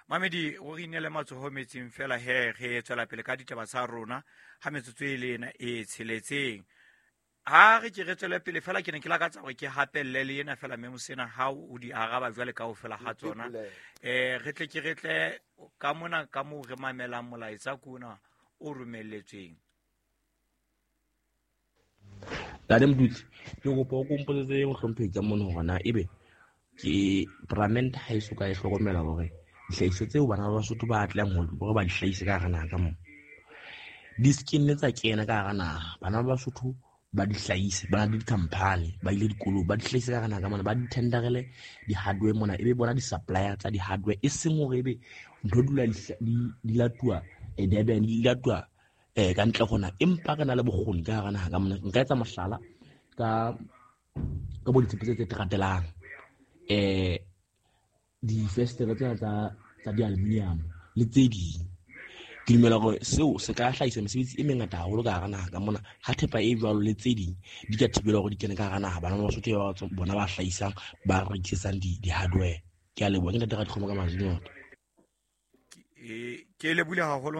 Mamedi, o re inele matsoho metsing fela he re tswela pele ka ditaba tsa rona ha metsotso e le ena e tsheletseng. Ha re ke re tswele pele fela, ke ne ke lakatsa hore ke hapelle le ena fela mme mosena ha o di araba jwale kaofela ha tsona. Re tle ke re tle ka mona ka moo re mamelang molaetsa kona o romelletsweng. Ntate Mdutsi, ke kopa o kompotsetse mohlomphehi ka mono hore na ebe ke paramente ha e soka e hlokomela hore dihlahiswa tseo bana ba Basotho ba tlang hore ba di hlahise ka hara naha ka moo di se ke nne tsa kena ka hara naha. Bana ba Basotho ba di hlahise, ba na le di-company, ba ile dikolong, ba di hlahise ka hara naha ka mona, ba di tenderele di-hardware mona, ebe bona di-supplier tsa di-hardware, e seng hore ebe ntho dula di latuwa Durban, di latuwa ka ntle ho naha, empa re na le bokgoni ka hara naha ka mona. Nka etsa mohlala ka bo ditshepe tse tse ratelang, difestere tsena tsa di-aluminium le tse ding. Ke dumela hore seo se ka hlahisa mesebetsi e mengata haholo ka hara naha ka mona, ha thepa e jwalo le tse ding di ka thibelwa hore di kene ka hara naha. Bana ba Basotho ba bona ba hlahisang, ba rekisetsang di-hardware. Ke a leboha, ke ntate Radikgomo ka Mazinyoto. Ke lebohile haholo.